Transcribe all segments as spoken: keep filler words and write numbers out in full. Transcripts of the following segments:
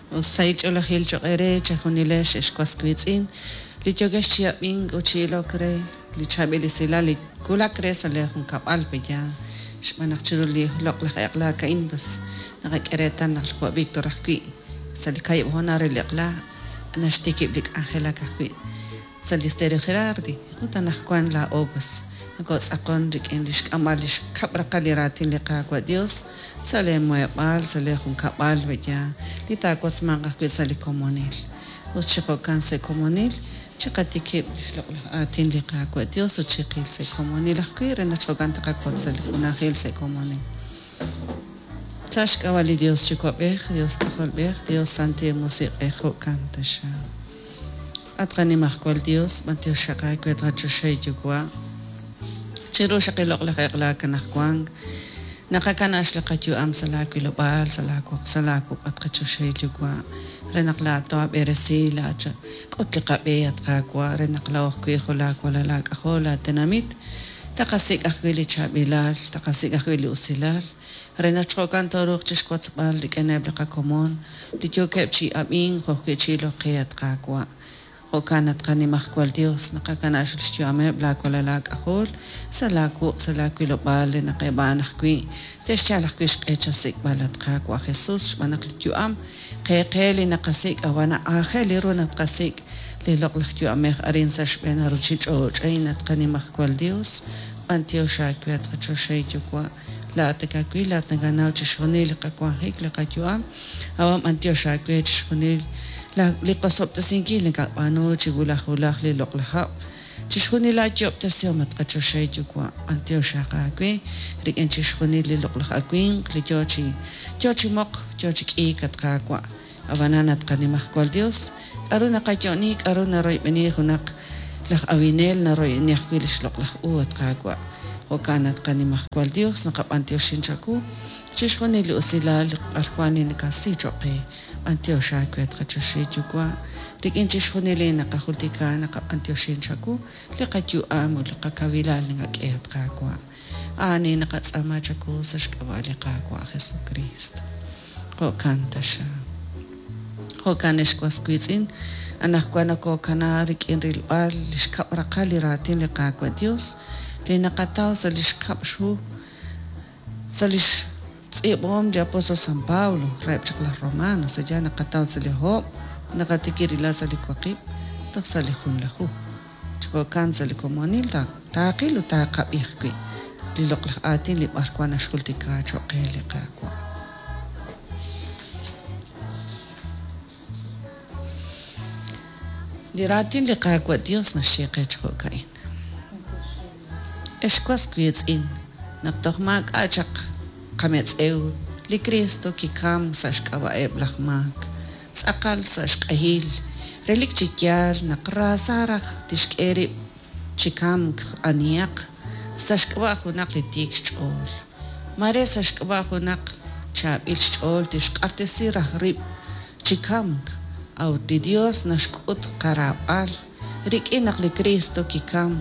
Sahil ch'oolejil cho'q eere chejunilex ex was wiitz'in li yookex chi ab'ink ut chi ilok re li chaab'il esilal li wulak re sa' leejunkab'al pe'yaal xb'aan naq chiru li loq'laj eq'la a'in pues naqak'e reetal naq jo' Víctor ajwi' sa' li kaahib' hoonal re li eq'la naxtikib' li k'anjelak ajwi' sa' li Stereo Gerardi ut anaqwan laa'o pues nokotz'aqon rik'in li xk'amb'al li xkab' raqal li raatin li Qaawa' Dios sa' leemuheb'aal sa' leejunkab'al pe'yaal li taawotzmanq ajwi' sa' li komonil ut chi jo'kan sa' komonil chiqatikib' li xloq'laj aatin li Qaawa' Dios ut chiqil sa' komonil ajwi' re naq jo'kan taqawotz sa' li junajil sa' komonil. Sa' xk'ab'a' li Dios Yuwa'b'ej, Dios K'ajolb'ej, Dios Santil Musiq'ej, jo'kan taxaq. At qanimajwal Dios, b'antiox xaq aawe at qachoxahil Yuwa'. Chiru xaq li loq'laj eq'la anaqwan, naqakana' li qayu'am sa' laawilob'aal, sa' laawuq', sa' laawuq' at qachoxahil Yuwa', re naq laa'at toob'eresi, laa'at k'ut li qab'e at Qaawa', re naq laa'o ajwi' jo' laawalal aak'ajol laatenamit, taqasik' ajwi' li chaab'ilal, taqasik' ajwi' li usilal, re naq jo'kan tooruuq chixwotzb'al rik'ineb' li qakomon li yookeb' chi ab'ink jo' ajwi' chi ilok qe at Qaawa'. Jo'kan at qanimajwal Dios, naqakana' xyu'ameb' laawalal aak'ajol sa' laawuq' sa' laawilob'aal re naq eb' a'an ajwi' te'xyal ajwi' xq'e chasik'b'al at Qaawa' Jesus xb'aan naq li yu'am qe qe li naqasik' ab'an aajel ru naq tqasik' li loq'laj yu'amej arin sa' xb'een ruuchich'och' a'in at qanimajwal Dios, b'antiox aawe at qachoxahil Yuwa', laa'at nakawil, laa'at nakanaw chixjunil li qawanjik, li qayu'am, ab'an b'antiox aawe chixjunil li qosob'tesinkil nakab'aanu chi wulaj wulaj li loq'laj hab', chixjunil laayob'tesihom at qachoxahil Yuwa', b'antiox xaq aawe rik'in chixjunil li loq'laj awimq li yoo chi yoo chi moq, yoo chi k'iik at Qaawa'. Ab'anan at qanimajwal Dios, k'aru naqayo'ni, k'aru naroyb'eni junaq laj awinel naroyb'eni ajwi' li xloq'laj u at Qaawa'. Jo'kan at qanimajwal Dios, naqab'antioxin chawu chixjunil li usilal li b'arwan li nakasi cho'q qe. B'antiox aawe at qachoxahil Yuwa', rik'in chixjunil li naqajultika naqab'antioxin chawu li qayu'am ut li qakawilal nakak'e at Qaawa'. A'ani naqatz'aama chawu sa' xk'ab'a' li Qaawa' Jesucristo. Jo'kan taxaq. Jo'kan ex was wiitz'in, anaqwan nokokana rik'in rilb'al li xkab' raqal li raatin li Qaawa' Dios li naqataw sa' li xkab' xhu sa' li xtz'iib'ahom li apóstol San Pablo reheb' chaq laj Romanos, allá naqataw sa' li hoob', naqatikirila sa' li waqib' toj sa' li junlaju. Chi jo'kan sa' li komonil taaqil ut taaqab'i ajwi' li loq'laj aatin li b'arwan naxjultika cho'q qe li Qaawa'. Li raatin li Qaawa' Dios naxye qe chi jo'ka'in. Ex was wiitz'in, naq toj maak'a' chaq qametz'ew, li Cristo kikam sa' xk'ab'a'eb' laj maak, tz'aqal sa' xq'ehil, relik chi yaal naq raasa raj tixk'e rib' chi kamk anihaq sa' xk'ab'a' junaq li tiik xch'ool. Mare sa' xk'ab'a' junaq chaab'il xch'ool tixq'axtesi raj rib' chi kamk, a'ut li Dios naxk'ut qaraab'al rik'in naq li Cristo kikam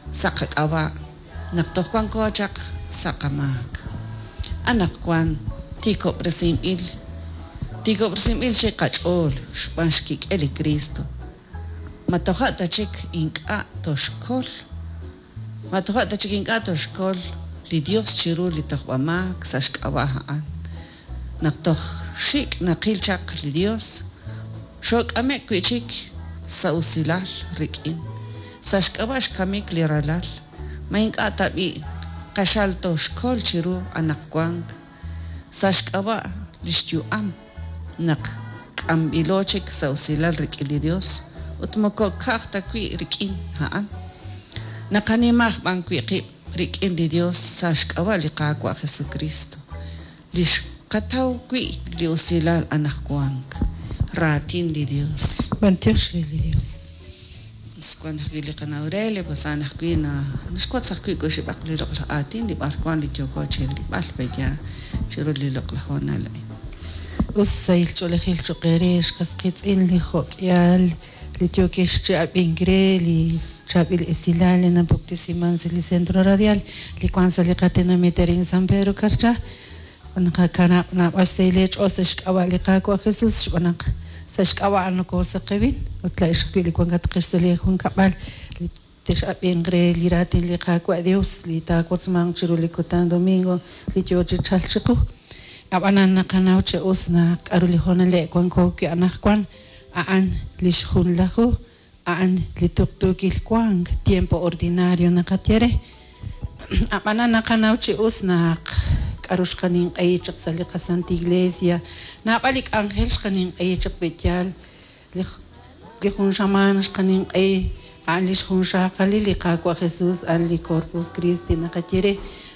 sa' qak'ab'a' naq toj wanko chaq sa' qamaak. Anaqwan tiikob'resinb'il tiikob'resinb'il chi qach'ool xb'aan xkik'el li Cristo. Ma toja' ta chik ink'a' toxkol, ma toja' ta chik ink'a' toxkol li Dios chiru li tojb'amaak sa' xk'ab'a' a'an. Naq toj xik' naqil chaq li Dios, xok'amek wi'chik sa' usilal rik'in. Sa' xk'ab'a' xkamik li ralal, ma ink'a' tab'i' qaxal toxkol chiru anaqwan sa' xk'ab'a' li xyu'am naq k'amb'ilo chik sa' usilal rik'in li Dios ut moko ka'aj ta wi' rik'in a'an. Naqanimaj b'an wi' qib' rik'in li Dios sa' xk'ab'a' li Qaawa' Jesucristo, li xqataw wi' li usilal anaqwan, raatin li Dios. B'antiox re li Dios. Pues wan ajwi' li qana Aurelia, pues a'an ajwi' na naxwotz ajwi' kuxib'aq li loq'laj aatin li b'arwan li yooko chirilb'al pe'ya chiru li loq'laj hoonal a'in. Us sahil ch'oolejil cho'q eere xqas qiitz'in li jo'k'ihal li yookex chi ab'ink re li chaab'il esilal li napuktesiman sa' li Centro Radial li wan sa' li qatenamit arin San Pedro Carchá. Naqakanab' naab'al xsahil eech'ool sa' xk'ab'a' li Qaawa' Jesus xb'aan naq sa' xk'ab'a' a'an nokoosaqewin ut laa'ex ajwi' li wankatqex sa' lee junkab'al li tex'ab'inq re li raatin li Qaawa' Dios li taawotzmanq chiru li kutan domingo li yoo chi chalk chiqu. Ab'anan naqanaw chi us naq k'aru li hoonaleb' wanko wi' anaqwan a'an li xjunlaju a'an li tuqtuukil wank tiempo ordinario naqaye re. Ab'anan naqanaw chi us naq k'aru xqaninq'ehi chaq sa' li qaSanta Iglesia naab'al li k'anjel xqaninq'ehi chaq pe'yaal li li jun xamaan xqaninq'ehi a'an li xjunxaqalil li Qaawa' Jesus a'an li Corpus Christi naqaye re.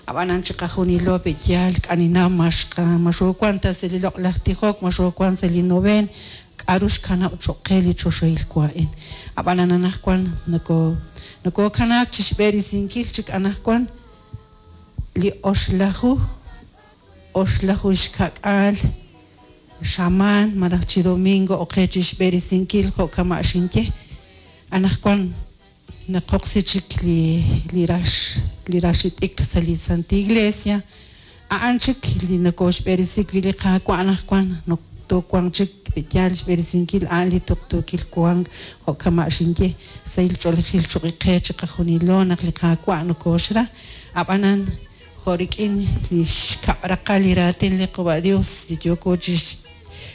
Ab'anan chiqajunilo pe'yaal k'aninaw max maxoowank ta sa' li loq'laj tijok maxoowank sa' li noveen k'aru xkanab' cho'q qe li choxahil wa'in. Ab'anan anaqwan noko nokokanaak chi xb'eresinkil chik anaqwan li oxlaju oxlaju xka'k'aal xamaan malaj chi domingo oqe chi xb'eresinkil jo' kama' xinye. Anaqwan naqoqsi chik li li rax li raxit'ikr sa' li Santa Iglesia a'an chik li nokoxb'eresi wi' li Qaawa' anaqwan toowanq chik pe'yaal xb'eresinkil a'an li tuqtuukil wank jo' kama' xinye sahil ch'oolejil cho'q qe chiqajunilo naq li Qaawa' nokoxra. Ab'anan jo' rik'in li xkab' raqal li raatin li Qawa' Dios li yooko chi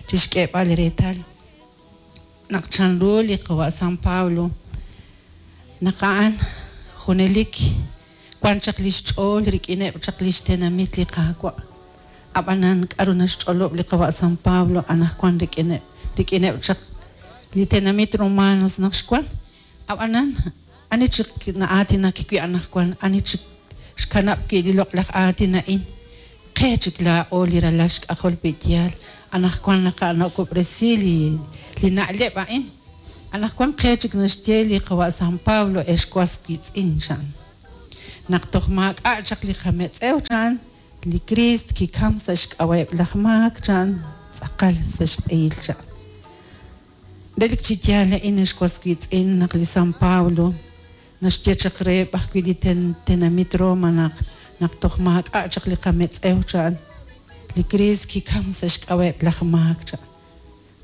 chixk'eeb'al reetal naq chanru li Qawa' San Pablo naq a'an junelik wan chaq li xch'ool rik'ineb' chaq li xtenamit li Qaawa'. Ab'anan k'aru naxch'olob' li Qawa' San Pablo anaqwan rik'ineb' rik'ineb' chaq li tenamit romanos naq xwan. Ab'anan ani chik na'aatinak wi' anaqwan ani chik xkanab' wi' li loq'laj aatin a'in qe chik laa'o li ralal xk'ajol pe'yaal anaqwan naqanak'ob'resi li li na'leb' a'in. Anaqwan qe chik naxye li Qawa' San Pablo ex was wiitz'in chan. Naq toj maak'a' chaq li qametz'ew chan li Criist kikam sa' xk'ab'a'eb' laj maak chan tz'aqal sa' xq'ehil chan. Relik chi yaal a'in ex was wiitz'in naq li San Pablo naxye chaq reheb' ajwi' li tenamit Roma naq naq toj maak'a' chaq li qametz'ew chan li Criist kikam sa' xk'ab'a'eb' laj maak chan.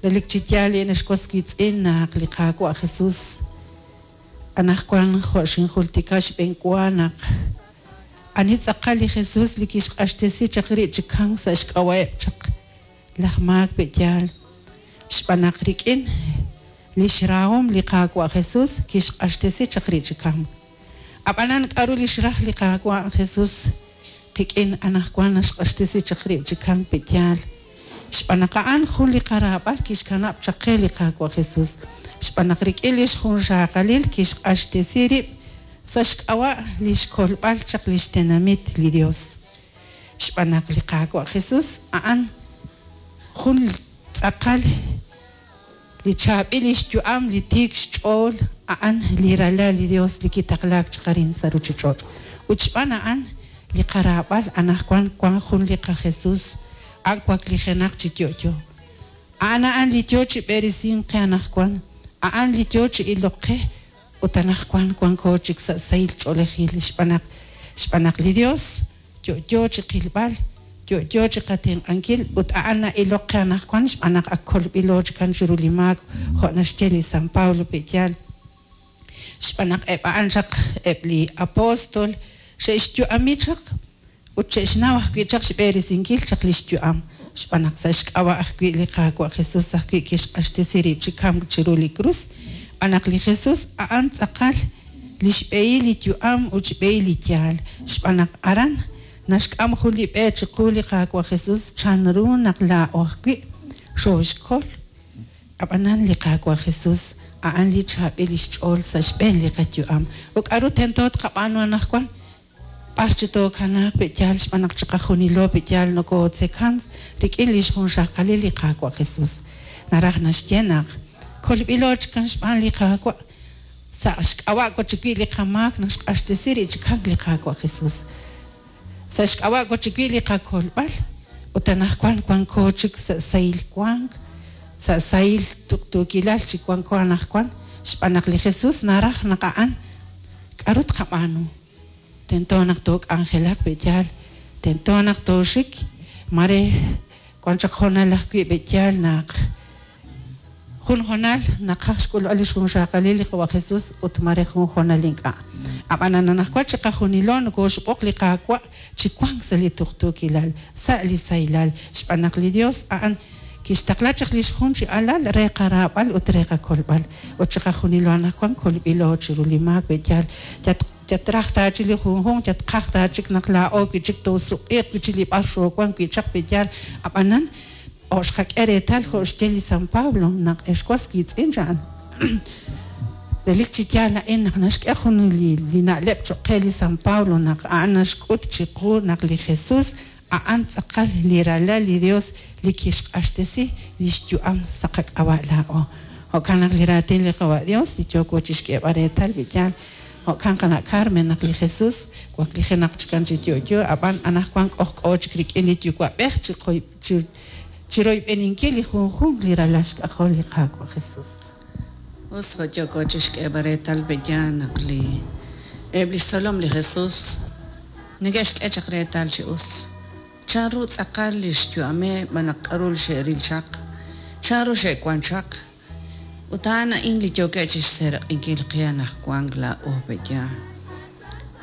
Relik chi yaal a'in ex was wiitz'in naq li Qaawa' Jesus anaqwan jo' xinjultika xb'eenwa naq ani tz'aqal li Jesus li kixq'axtesi chaq rib' chi kamk sa' xk'ab'a'eb' chaq laj maak pe'yaal xb'aan naq rik'in li xrahom li Qaawa' Jesus kixq'axtesi chaq rib' chi kamk. Ab'anan k'aru li xraj li Qaawa' Jesus qik'in anaqwan naxq'axtesi chaq rib' chi kamk pe'yaal xb'aan naq a'an jun li qaraab'al kixkanab' chaq qe li Qaawa' Jesus xb'aan naq rik'in li xjunxaqalil kixq'axtesi rib' sa' xk'ab'a' li xkolb'al chaq li xtenamit li Dios. Xb'aan naq li Qaawa' Jesus a'an jun tz'aqal li chaab'il li xyu'am li tiik xch'ool a'an li ralal li Dios li kitaqlaak chaq arin sa' ruuchich'och'. Ut xb'aan a'an li qaraab'al anaqwan wan jun li qaJesus a'an waklijenaq chi yo'yo. A'an a'an li yoo chi b'eresink qe anaqwan a'an li yoo chi ilok qe ut anaqwan wanko chik sa' sahil ch'oolejil xb'aan naq xb'aan naq li Dios yo'yo chi qilb'al yo'yo chi qatenq'ankil ut a'an na'ilok qe anaqwan xb'aan naq ak kolb'ilo chikan chiru li maak jo' naxye li San Pablo pe'yaal. Xb'aan naq eb' a'an chaq eb' li apóstol xe'xyu'ami chaq ut xe'xnaw ajwi' chaq xb'eresinkil chaq li xyu'am xb'aan naq sa' xk'ab'a' ajwi' li Qaawa' Jesus ajwi' kixq'axtesi rib' chi kamk chiru li krus. Xb'aan naq li Jesus a'an tz'aqal li xb'ehil li yu'am ut xb'ehil li yaal xb'aan naq aran naxk'am jun li b'e chiqu li Qaawa' Jesus chanru naq laa'o ajwi' xooxkol. Ab'anan li Qaawa' Jesus a'an li chaab'il li xch'ool sa' xb'een li qayu'am. Ut k'aru tento tqab'aanu anaqwan b'ar chi tookanaaq pe'yaal xb'aan naq chiqajunilo pe'yaal nokootzekan rik'in li xjunxaqalil li Qaawa' Jesus. Naraj naxye naq kolb'ilo chikan xb'aan li Qaawa' sa' xk'ab'a' wachik wi' li qamaak naq xq'axtesi rib' chi kamk li Qaawa' Jesus. Sa' xk'ab'a' wachik wi' li qakolb'al ut anaqwan wanko chik sa' sahil wank sa' sahil tuqtuukilal chi wanko anaqwan xb'aan naq li Jesus naraj naq a'an k'aru tqab'aanu. Tento naq took'anjelaq pe'yaal tento naq tooxik Mare wan chaq hoonal ajwi' pe'yaal naq jun hoonal naqaj xk'ulb'al li xjunxaqalil li Qawa' Jesus ut mare jun hoonal ink'a'. Ab'anan anaqwan chiqajunilo nokooxb'oq li Qaawa' chi wank sa' li tuqtuukilal, sa' li sahilal, xb'aan naq li Dios a'an kixtaqla chaq li xjun chi alal re qaraab'al ut re qakolb'al. Ut chiqajunilo anaqwan kolb'ilo chiru li maak pe'yaal yat yatraj taachik li junjunq yatqaj taachik naq laa'o wi' chik toosuq'iiq wi' chik li b'ar xoowank wi' chaq pe'yaal ab'anan o xqak'e reetal jo' xye li San Pablo naq ex was wiitz'in cha'an relik chi yaal a'in naq naxk'e jun li li na'leb' cho'q qe li San Pablo naq a'an naxk'ut chiqu naq li Jesus a'an tz'aqal li ralal li Dios li kixq'axtesi li xyu'am sa' qak'ab'a' laa'o. Jo'kan naq li raatin li Qawa' Dios li yooko chixk'eeb'al reetal pe'yaal jo'kan qana' Carmen naq li Jesus waklijenaq chikan chi yo'yo ab'an anaqwan k'ojk'o chik rik'in li Yuwa'b'ej chi qoy chi chiroyb'eninkil li junjunq li ralal xk'ajol li Qaawa' Jesus. Us jo' yooko chixk'eeb'al reetal pe'yaal naq li eb' li xtzolom li Jesus neke'xk'e chaq reetal chi us chanru tz'aqal li xyu'ameb' malaj k'a'ru li xe'ril chaq, chanru xe'wan chaq. Ut a'an a'in li yookeb' chixseeraq'inkil qe anaqwan laa'o pe'yaal.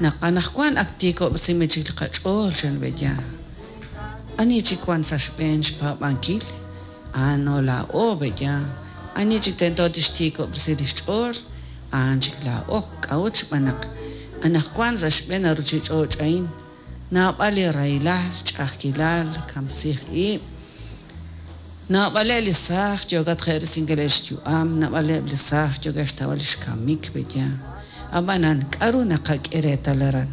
Naq anaqwan ak tiikob'resinb'il chik li qach'ool chan pe'yaal. Ani chik wan sa' xb'een xpaab'ankil? A'ano laa'o pe'yaal. Ani chik tento tixtiikob'resi li xch'ool? A'an chik laa'o. K'a'ut xb'aan naq anaqwan sa' xb'een ruchich'och' a'in naab'al li rahilal, ch'a'ajkilal, kamsij ib'. Naab'aleb' li saaj yookat je'risinkil xyu'am, naab'aleb' li saaj yookat xtawb'al li xkamik pe'yaal. Ab'anan k'a'ru naqak'e reetal aran?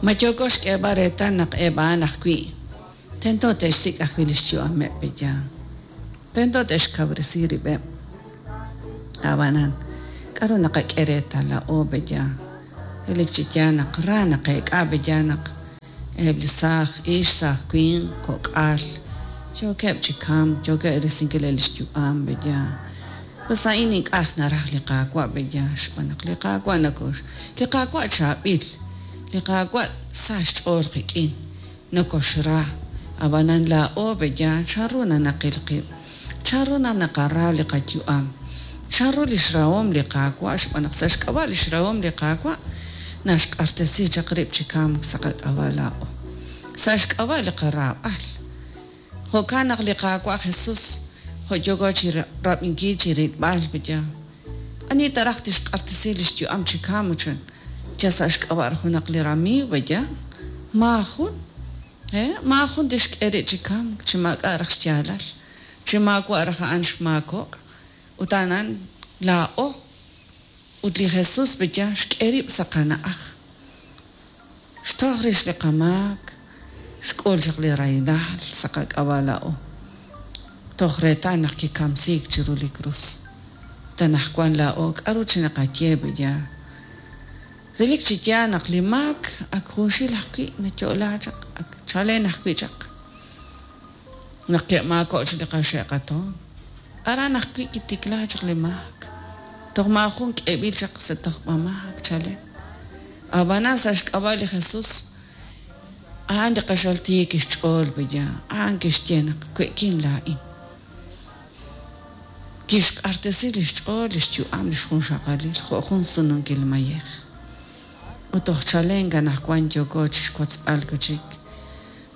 Ma yooko xk'eeb'al reetal naq eb' a'an ajwi' tento te'xsik' ajwi' li xyu'ameb' pe'yaal. Tento te'xkawresi rib'eb'. Ab'anan k'a'ru naqak'e reetal laa'o pe'yaal? Relik chi yaal naq ra naqeek'a pe'yaal naq eb' li saaj ix, saaj winq, kok'al yookeb' chi kamk, yookeb' risinkil li xyu'am pe'yaal. Pues a'in ink'a' naraj li Qaawa' pe'yaal xb'aan naq li Qaawa' nakox li Qaawa' chaab'il, li Qaawa' sa xch'ool qik'in, nokoxra. Ab'anan laa'o pe'yaal chanru nanaqil qib', chanru naqara li qayu'am, chanru li xrahom li Qaawa' xb'aan naq sa' xk'ab'a' li xrahom li Qaawa' naxq'axtesi chaq rib' chi kamk sa' qak'ab'a' laa'o. Sa' xk'ab'a' li qaraab'al. Jo'kan naq li Qaawa' Jesus jo' yooko chi rab'inkil chi rilb'al pe'yaal. Ani taraj tixq'axtesi li xyu'am chi kamk chan yal sa' xk'ab'a' junaq li ramiiw pe'yaal? Maajun. Eh, maajun tixk'e rib' chi kamk chi maak'a' raj xyaalal, chi maawa' raj a'an xmaakok'. Ut a'an laa'o ut li Jesus pe'yaal xk'e rib' sa' qana'aj. Xtoj rix li qamaak, xk'ul chaq li rahilal sa' qak'ab'a' laa'o. Toj reetal naq kikamsiik chiru li krus. Ut anaqwan laa'o k'a'ru chi naqaye pe'yaal? Relik chi yaal naq li maak ak junxil ajwi' nayo'la chaq, ak chalen ajwi' chaq. Naq ke'maako' chik li qaxe'qatoon. Aran ajwi' kitikla chaq li maak. Toj maajun k'eeb'il chaq sa' tojb'a maak chalen. Ab'anan sa' xk'ab'a' li Jesus a'an li qaxal tiik xch'ool pe'yaal. A'an kixye naq we'kin laa'in. Kixq'axtesi li xch'ool, li xyu'am, li xjunxaqalil jo' jun sununkil mayej. Ut toj chalen anaqwan yooko chixwotzb'al wi'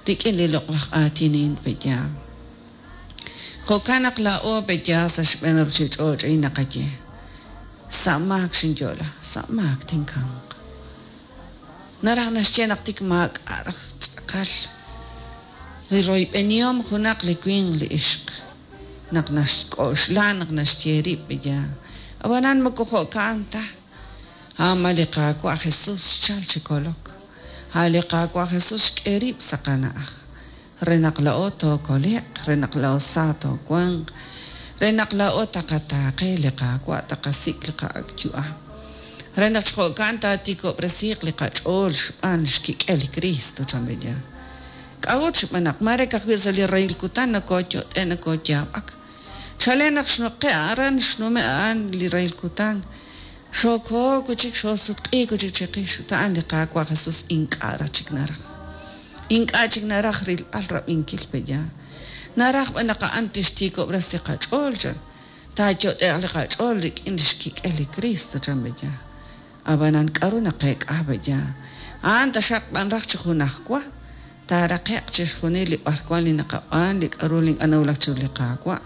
rik'in li loq'laj aatin a'in pe'yaal. Jo'kan naq laa'o pe'yaal sa' xb'een ruchich'och' a'in naqaye. Sa' maak xinyo'la, sa' maak tinkamq. Naraj naxye naq tik maak'a' raj tz'aqal li royb'enihom junaq li winq li ixq. Naq naxk'oxla naq naxye rib' pe'yaal. Ab'anan moko jo'kan ta. A'an li Qaawa' Jesus xchal chi kolok. A' li Qaawa' Jesus xk'e rib' sa' qana'aj. Re naq laa'o tookole'q, re naq laa'o sa toowanq, re naq laa'o taqataaqe li Qaawa' taqasik' li qa'ak' yu'am. Re naq jo'kan taatiikob'resiiq li qach'ool xb'aan xkik'el li Cristo chan pe'yaal. K'a'ut xb'aan naq mare ka'ajwi' sa' li rahil kutan nokooyot'e nokooyaab'ak. Chalen naq xnuqe' aran xnume' a'an li rahil kutan. Xookoo wi' chik xoosutq'iik wi' chik chiqix ut a'an li Qaawa' Jesus ink'a' raj chik naraj. Ink'a' chik naraj rilb'al rab'inkil peya. Naraj b'an naq a'an tixtiikob'resi qach'ool chan. Taayot'e'q li qach'ool rik'in lix kik'el li Cristo chan peya. Ab'anan k'aru naqeek'a peya. A'an taxaq b'an raj chi junajwa taaraqe'q chixjunil li b'arwan li naqab'aan li k'aru li ink'a' nawulak chiru li Qaawa'.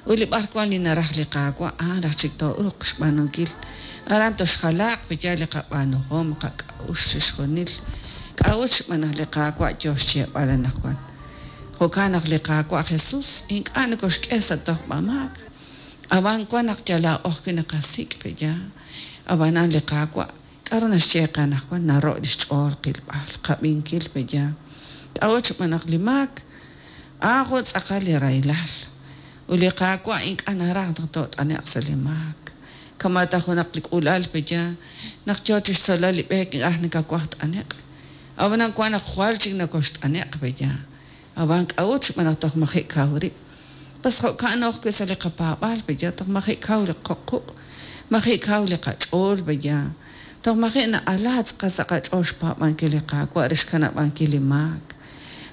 Ut li b'arwan li naraj li Qaawa' a'an raj chik tooruuq xb'aanunkil. Aran toxjalaaq peya li qab'aanuhom qak'a'uxl chixjunil. K'a'ut xb'aan naq li Qaawa' yoo xyeeb'al anaqwan. Jo'kan naq li Qaawa' Jesus ink'a' nokoxk'e sa' tojb'amaak. Ab'an wan naq yal laa'o ajwi' naqasik' peya. Ab'anan li Qaawa' k'aru naxye qe anaqwan naro' li xch'ool qilb'al qab'inkil peya. K'a'ut xb'aan naq li maak a'an jun tz'aqal li rahilal. Ut li Qaawa' ink'a' naraj naq toot'ane'q sa' li maak. Kama' ta junaq li k'uula'al peya naq yoo chixtzolb'al li b'eek ink'a' nakawaj t'ane'q. Ab'anan wan naq jwal chik nokoxt'ane'q peya. Ab'an k'a'ut xb'aan naq toj maji' kaw rib'. Pas jo'kan ajwi' sa' li qapaab'aal peya toj maji' kaw li qoq' maji' kaw li qach'ool peya. Toj maji' na'ala tz'aqal sa' qach'ool xpaab'ankil li Qaawa' re xkanab'ankil li maak,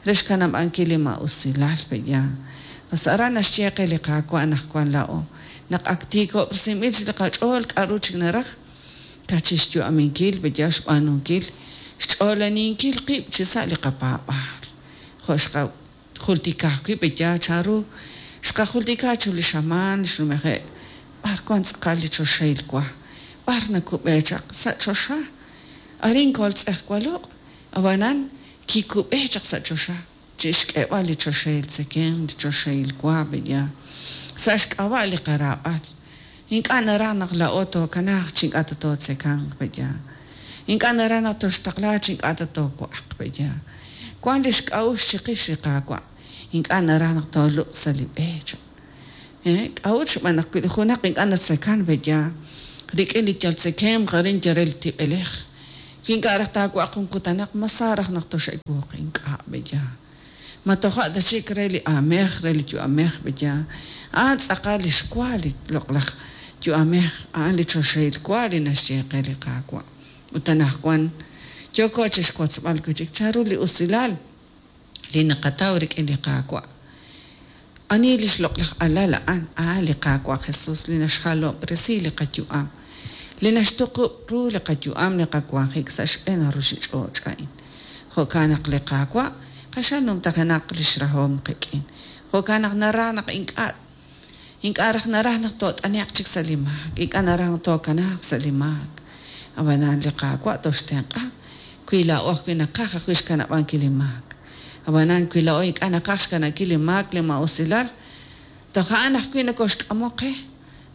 re xkanab'ankil li ma'usilal peya. Pas aran naxye qe li Qaawa' anaqwan laa'o naq ak tiikob'resinb'il chik li qach'ool k'aru chik naraj kachixyu'aminkil peya xb'aanunkil xch'oolaninkil qib' chi sa' li qapaab'aal. Jo' xqajultika ajwi' peya chanru xqajultika chu li xamaan xnumeje' b'ar wan tz'aqal li choxahil wa, b'ar nakub'e chaq sa' choxa. Arin koltz'ejwaloq' ab'anan kikub'e chaq sa' choxa chixk'eeb'al li choxahil tzekemq, li choxahil wa peya. Sa' xk'ab'a' li qaraab'al. Ink'a' naraj naq laa'o tookanaaq chi ink'a' ta tootzekanq peya. Ink'a' naraj naq toxtaqla chi ink'a' ta toowa'aq peya. Wan li xk'a'uxl chiqix li Qaawa'. Ink'a' naraj naq tooluq sa' li b'e chan. K'a'ut xb'aan naq wi li junaq ink'a' natzekan peya rik'in li yal tzekemq arin yal re li tib'elej. Wi ink'a' raj taawa'aq jun kutanaq ma sa raj naq tox'ewuuq ink'a' peya. Ma toja' ta chik re li aamej re li yu'amej peya. A'an tz'aqal li xwa li loq'laj yu'amej a'an li choxahil wa li naxye qe li Qaawa'. Ut anaqwan yooko chixwotzb'al wi' chik chanru li usilal li naqataw rik'in li Qaawa'. Ani li xloq'laj alal a'an a'an li Qaawa' Jesus li naxjalob'resi li qayu'am, li naxtuqub' ru li qayu'am li qawanjik sa' xb'een ruchich'och' a'in. Jo'kan naq li Qaawa' q'axal numtajenaq li xrahom qik'in. Jo'kan naq naraj naq ink'a' ink'a' raj naraj naq toot'ane'q chik sa' li maak, ink'a' naraj naq tookanaaq sa' li maak. Ab'anan li Qaawa' toxtenq'a wi laa'o ajwi' naqaj ajwi' xkanab'ankil li maak. Ab'anan wi laa'o ink'a' naqaj xkanab'ankil li maak li ma'usilal, toj a'an ajwi' nokoxk'amok qe,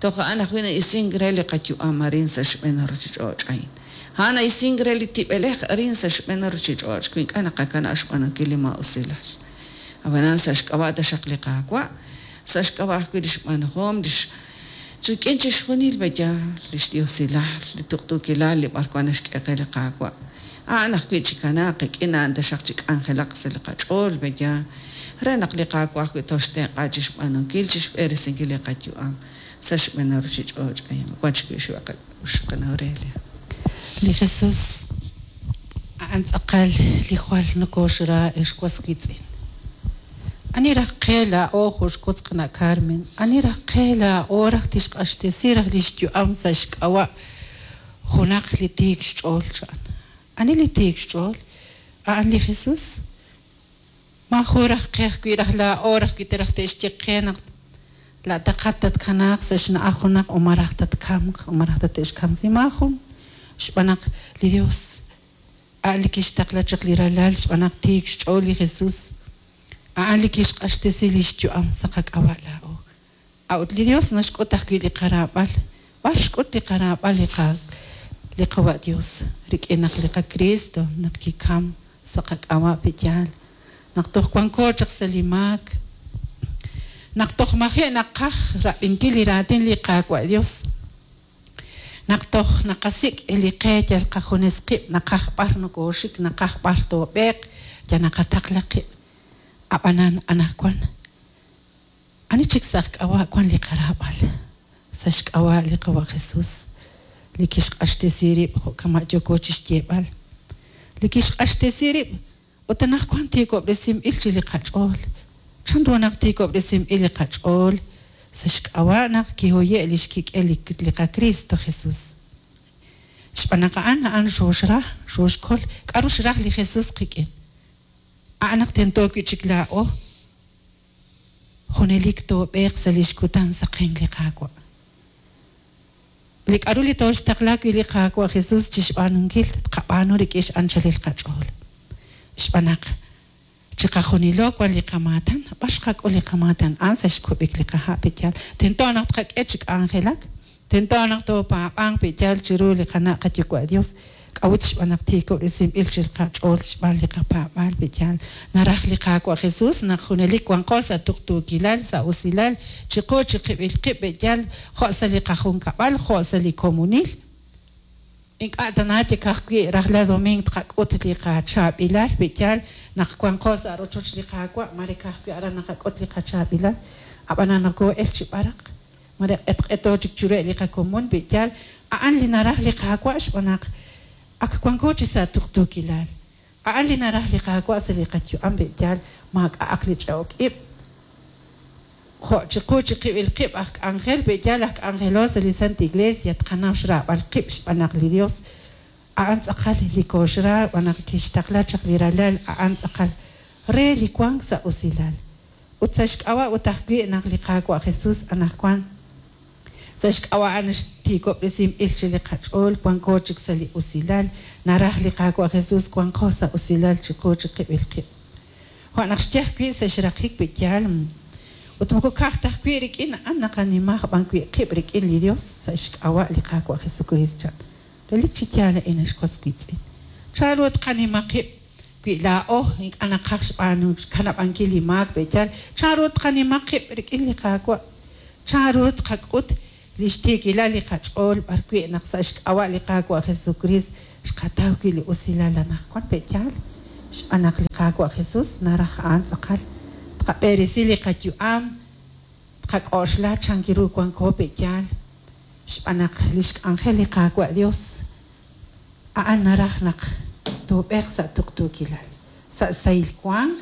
toj a'an ajwi' na'isink re li qayu'am arin sa' xb'een ruchich'och' a'in. A'an na'isink re li tib'elej arin sa' xb'een ruchich'och' wi ink'a' naqakanab' xb'aanunkil li ma'usilal. Ab'anan sa' xk'ab'a' taxaq li Qaawa', sa' xk'ab'a' ajwi' li xb'aanuhom, li rik'in chixjunil peya li xdiosilal, li tuqtuukilal li b'arwan naxk'e qe li Qaawa'. A'an ajwi' chikanaaq qik'in a'an taxaq chik'anjelaq sa' li qach'ool peya re naq li Qaawa' ajwi' toxtenq'a chixb'aanunkil, chixb'eresinkil li qayu'am sa' xb'een ruchich'och' a'in. Wan chik wi' xwa qak'a'uxl qana Aurelia. Li Jesus a'an tz'aqal li jwal nokoxra ex was wiitz'in. Ani raj qe laa'o jo' xwotz qana' Carmen, ani raj qe laa'o raj tixq'axtesi raj li xyu'am sa' xk'ab'a' junaq li tiik xch'ool cha'an. Ani li tiik xch'ool? A'an li Jesus. Ma jun raj qe ajwi' raj laa'o raj wi raj te'xye qe naq la'taqat tatkanaaq sa' xna'aj junaq o ma raj tatkamq o ma raj tate'xkamsi ma jun. Xb'aan naq li Dios a'an li kixtaqla chaq li ralal xb'aan naq tiik xch'ool li Jesus. A'an li kixq'axtesi li xyu'am sa' qak'ab'a' laa'o. A'ut li Dios naxk'ut ajwi' li qaraab'al. B'ar xk'ut li qaraab'al li qa li qawa' Dios rik'in naq li qaCristo naq kikam sa' qak'ab'a' pe'yaal. Naq toj wanko chaq sa' li maak. Naq toj maji' naqaj rab'inkil li raatin li Qaawa' Dios. Naq toj naqasik' li qe yal qajunes qib' naqaj b'ar nokooxik naqaj b'ar toob'eeq ya naqataqla qib'. Ab'anan anaqwan. Ani chik sa' xk'ab'a' wan li qaraab'al. Sa' xk'ab'a' li qawa' Jesus. Li kixq'axtesi rib' jo' kama' yooko chixyeeb'al. Li kixq'axtesi rib' Ut anaqwan tiikob'resinb'il chi li qach'ool. Chanru naq tiikob'resinb'il li qach'ool? Sa' xk'ab'a' naq kihoye' li xkik'el li qaKristo Jesus. Xb'aan naq a'an a'an xooxra, xooxkol. K'aru xraj li Jesus qik'in? A'an naq tento wi' chik laa'o junelik toob'eeq sa' li xkutan saqenk li Qaawa'. Li k'aru li tooxtaqla wi' li Qaawa' Jesus chi xb'aanunkil, tqab'aanu rik'in x'anchalil qach'ool. Xb'aan naq chiqajunilo wan li qamaatan, b'ar xqak'ul li qamaatan? A'an sa' xkub'ik li qaha' pe'yaal. Tento naq tqak'e chi k'anjelak, tento naq toopaab'anq pe'yaal chiru li qana' qayuwa' Dios. K'a'ut xb'aan naq tiikob'resinb'il chi qach'ool xb'aan li qapaab'aal pe'yaal. Naraj li Qaawa' Jesus naq junelik wanqo sa' tuqtuukilal, sa' usilal, chiqu chiqib'il qib' pe'yaal, jo' sa' li qajunkab'al, jo' sa' li komonil. Ink'a' tana yal ka'ajwi' rajlal domingo tqak'ut li qachaab'ilal pe'yaal naq wanqo sa' rochoch li Qaawa', mare ka'ajwi' aran naqak'ut li qachaab'ilal, ab'anan nokoo'el chi b'araq, mare q'etq'eto chik chiruheb' li qakomon pe'yaal. A'an li naraj li Qaawa' xb'aan naq ak wanko chi sa' tuqtuukilal. A'an li naraj li Qaawa' sa' li qayu'am pe'yaal, maak'a'aq li ch'e'ok ib'. Jo' chiqu chiqib'il qib' aj k'anjel pe'yaal aj k'anjelo sa' li Santa Iglesia tqanaw xraab'al qib' xb'aan naq li Dios a'an tz'aqal li kooxra xb'aan naq kixtaqla chaq li ralal a'an tz'aqal re li wank sa' usilal. Ut sa' xk'ab'a' ut ajwi' naq li Qaawa' Jesus anaqwan sa' xk'ab'a' a'an xtiikob'resinb'il chi li qach'ool wanko chik sa' li usilal, naraj li Qaawa' Jesus wanqo sa' usilal chiqu chiqib'il qib'. Jo' naq xye ajwi' sa' xraqik pe'yaal ut moko ka'aj ta ajwi' rik'in a'an naqanimaj b'an wi' qib' rik'in li Dios sa' xk'ab'a' li Qaawa' Jesucristo chan. Relik chi yaal a'in ex was wiitz'in. Chanru tqanima qib' wi' laa'o ink'a' naqaj xb'aanu xkanab'ankil li maak pe'yaal. Chanru tqanima qib' rik'in li Qaawa'? Chanru tqak'ut li xtiikilal li qach'ool b'ar wi' naq sa' xk'ab'a' li Qaawa' Jesucristo xqataw wi' li usilal anaqwan pe'yaal? Xb'aan naq li Qaawa' Jesus naraj a'an tz'aqal tqab'eresi li qayu'am, tqak'oxla chan ru wanko pe'yaal. Xb'aan naq li xk'anjel li Qaawa' Dios a'an naraj naq toob'eeq sa' tuqtuukilal, sa' sahil wank,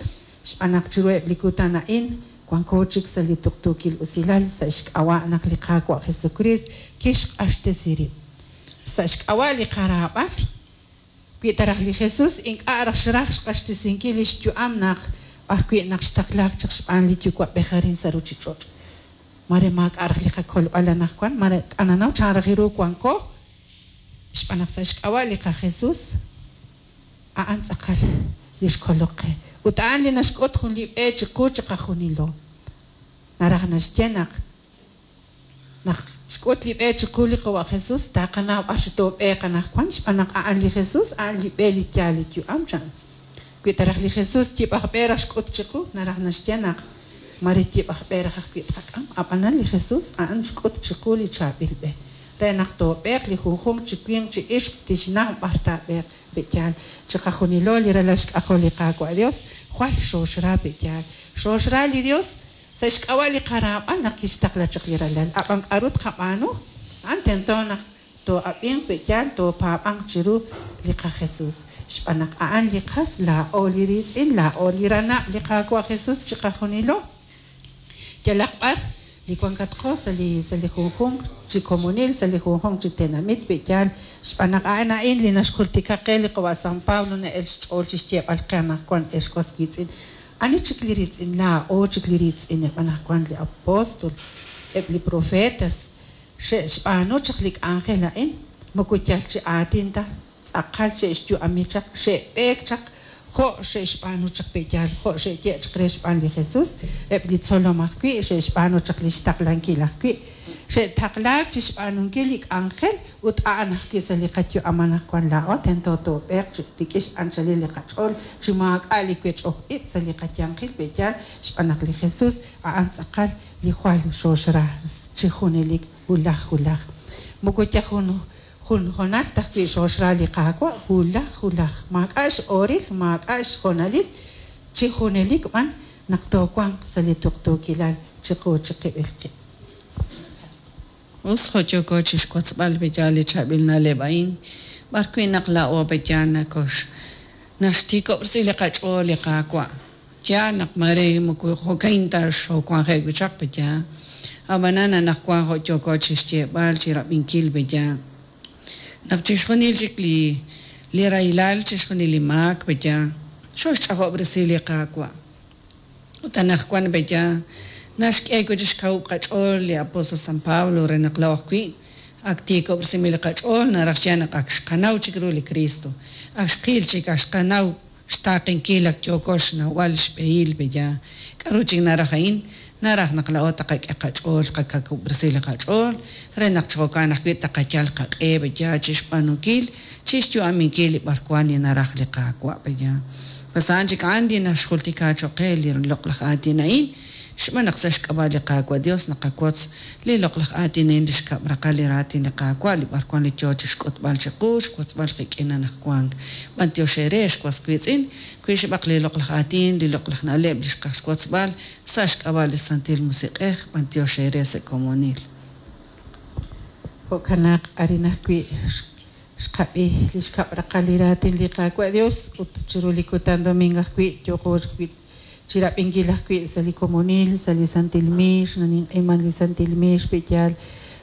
xb'aan naq chiruheb' li kutan a'in wanko chik sa' li tuqtuukil usilal sa' xk'ab'a' naq li Qaawa' Jesucristo kixq'axtesi rib'. Sa' xk'ab'a' li qaraab'al, wi taraj li Jesus ink'a' raj xraj xq'axtesinkil li xyu'am naq b'ar wi' naq xtaqlaak chaq xb'aan li Yuwa'b'ej arin sa' ruchich'och'. Mare maak'a' raj li qakolb'al anaqwan, mare k'ananaw chan raj ru wanko, xb'aan naq sa' xk'ab'a' li qaJesus a'an tz'aqal li xkolok qe. Ut a'an li naxk'ut jun li b'e chiqu chiqajunilo. Naraj naxye naq naq xk'ut li b'e chiqu li Qawa' Jesus, taqanaw b'ar chi toob'eeq anaqwan, xb'aan naq a'an li Jesus, a'an li b'e li yaal li yu'am chan. Wi taraj li Jesus yib'aj b'e raj xk'ut chiqu, naraj naxye naq mare yib'aj b'e raj ajwi' tqak'am, ab'anan li Jesus a'an xk'ut chiqu li chaab'il b'e. Re naq toob'eeq li junjunq chi winq chi ixq tixnaw b'ar taab'eeq pe'yaal. Chiqajunilo li ralal xk'ajol li Qaawa' Dios, jwal xooxra pe'yaal. Xooxra li Dios sa' xk'ab'a' li qaraab'al naq kixtaqla chaq li ralal. Ab'an k'aru tqab'aanu? A'an tento naq too'ab'inq pe'yaal, toopaab'anq chiru li qaJesus. Xb'aan naq a'an li qas, laa'o li riitz'in, laa'o li ranab' li Qaawa' Jesus chiqajunilo. Yalaq b'ar li wankatqo sa' li sa' li junjunq chi komonil, sa' li junjunq chi tenamit pe'yaal, xb'aan naq a'an a'in li naxjultika qe li Qawa' San Pablo na'el xch'ool chi xyeeb'al qe anaqwan ex was wiitz'in. Ani chik li riitz'in? Laa'o chik li riitz'ineb' anaqwan li apóstol, eb' li profetas xe'xb'aanu chaq li k'anjel a'in, moko yal chi aatin ta, tz'aqal xe'xyu'ami chaq, xe'b'eek chaq, jo' xe'xb'aanu chaq pe'yaal, jo' xe'ye' chaq re xb'aan li Jesus, eb' li tzolom ajwi' xe'xb'aanu chaq li xtaqlankil ajwi', xe'taqlaak chi xb'aanunkil li k'anjel ut a'an ajwi' sa' li qayu'am anaqwan laa'o tento toob'eeq chi rik'in x'anchalil li qach'ool chi maak'a' li wech'oj ib' sa' li qayanqil pe'yaal, xb'aan naq li Jesus a'an tz'aqal li jwal xooxra chi junelik wulaj wulaj. Moko yal jun jun honal ta ajwi' xooxra li Qaawa' wulaj wulaj, maak'a' x'ooril, maak'a' xhonalil, chi junelik b'an naq toowanq sa' li tuqtuukilal chiqu chiqib'il qib'. Us jo' yooko chi xwotzb'al pe'yaal li chaab'il na'leb' a'in, b'ar wi' naq laa'o pe'yaal nakox Naxtiikob'resi li qach'ool li Qaawa'. Yaal naq mare moko jo'kan ta xoowanje'k wi' chaq pe'yaal. Ab'anan anaqwan jo' yooko chi xyeeb'al chi rab'inkil pe'yaal. Naq chixjunil chik li li rahilal, chixjunil li maak pe'yaal, xooxch'ajob'resi li Qaawa'. Ut anaqwan pe'yaal naxk'e wi' chik xkawub' qach'ool li apóstol San Pablo re naq laa'o ajwi' ak tiikob'resinb'il li qach'ool, naraj xye naq ak xqanaw chik ru li Cristo, ak xqil chik, ak xqanaw xtaaqenkil, ak yooko xnawb'al xb'ehil pe'yaal. K'aru chik naraj a'in? Naraj naq laa'o taqak'e qach'ool, qakawub'resi li qach'ool re naq chi jo'kan ajwi' taqayal qaq'e pe'yaal chi xb'aanunkil, chi xyu'aminkil li b'arwan li naraj li Qaawa' pe'yaal. Pues a'an chik a'an li naxjultika cho'q qe li loq'laj aatin a'in, xb'aan naq sa' xk'ab'a' li Qaawa' Dios naqawotz li loq'laj aatin a'in, li xkab' raqal li raatin li Qaawa', li b'arwan li yoo chi xk'utb'al chiqu, xwotzb'al qik'in anaqwan. B'antiox eere ex was wiitz'in, wi xb'aq li loq'laj aatin, li loq'laj na'leb' li xqaj xwotzb'al sa' xk'ab'a' li Santil Musiq'ej, b'antiox eere sa' komonil. Jo'kan naq arin ajwi' xqab'i li xkab' raqal li raatin li Qaawa' Dios ut chiru li kutan domingo ajwi' yooqo ajwi' chi rab'inkil ajwi' sa' li komonil, sa' li Santil Miix, naninq'iman li Santil Miix pe'yaal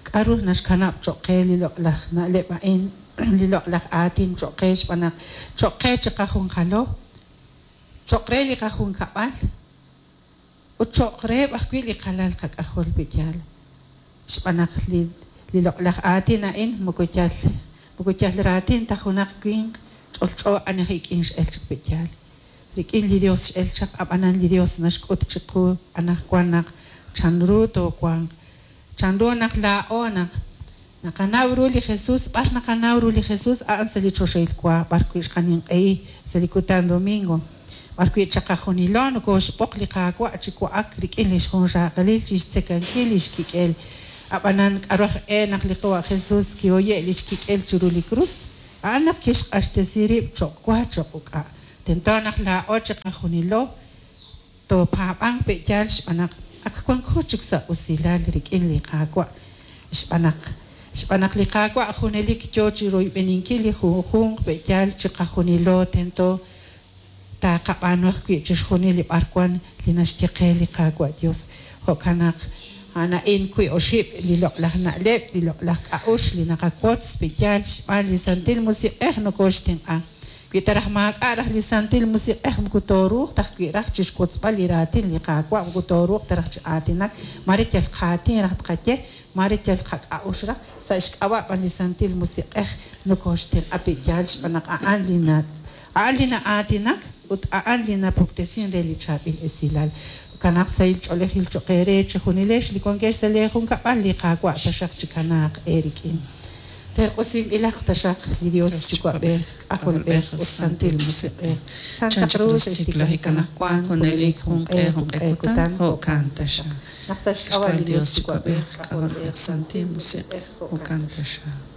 k'aru naxkanab' cho'q qe li loq'laj na'leb' a'in, li loq'laj aatin cho'q qe xb'aan naq cho'q qe chiqajunqalo, cho'q re li qajunkab'al ut cho'q reheb' ajwi' li qalal qak'ajol pe'yaal. Xb'aan naq li li loq'laj aatin a'in moko yal moko yal raatin ta junaq winq ch'olch'o ani aj ik'in x'el chaq pe'yaal. Rik'in li Dios x'el chaq, ab'anan li Dios naxk'ut chiqu anaqwan naq chanru toowanq, chanru naq laa'o naq naqanaw ru li Jesús, b'ar naqanaw ru li Jesús a'an sa' li choxahil wa, b'ar wi' xqaninq'ehi sa' li kutan domingo, b'ar wi' chaqajunilo nokooxb'oq li Qaawa' chi wa'ak rik'in li xjunxaqalil chi xtzekankil li xkik'el. Ab'anan k'aru aj e naq li Qawa' Jesús kihoye' li xkik'el chiru li krus, a'an naq kixq'axtesi rib' cho'q wa cho'q uk'a'. Tento naq laa'o chiqajunilo toopaab'anq pe'yaal xb'aan naq ak wanko chik sa' usilal rik'in li Qaawa'. Xb'aan naq xb'aan naq li Qaawa' junelik yoo chi royb'eninkil li junjunq pe'yaal chiqajunilo tento taaqab'aanu ajwi' chixjunil li b'arwan li naxye qe li Qaawa' Dios. Jo'kan naq a'an a'in wi' oxib' li loq'laj na'leb', li loq'laj k'a'uxl li naqawotz pe'yaal xb'aan li Santil Musiq'ej nokooxtenq'a. Wi ta raj maak'a' raj li Santil Musiq'ej moko tooruuq ta ajwi' raj chi xwotzb'al li raatin li Qaawa', moko tooruuq ta raj chi aatinak, mare yal qaatin raj tqaye, mare yal qak'a'uxl raj, sa' xk'ab'a' b'an li Santil Musiq'ej nokooxtenq'a pe'yaal xb'aan naq a'an li na a'an li na'aatinak ut a'an li napuktesin re li chaab'il esilal. Jo'kan naq sahil ch'oolejil cho'q eere chejunilex li wankex sa' lee junkab'al li Qaawa' taxaq chikanaaq eerik'in. Terq'usinb'ilaq taxaq li Dios Yuwa'b'ej, K'ajolb'ej ut Santil Musiq'ej. Chan chaq ru sa' xtiklajik anaqwan junelik junq'e junq'e kutan jo'kan taxaq. Naq sa' xk'ab'a' Xk'ab'a' li Dios Dios Yuwa'b'ej, Yuwa'b'ej, K'ajolb'ej, Santil Musiq'ej, jo'kan taxaq.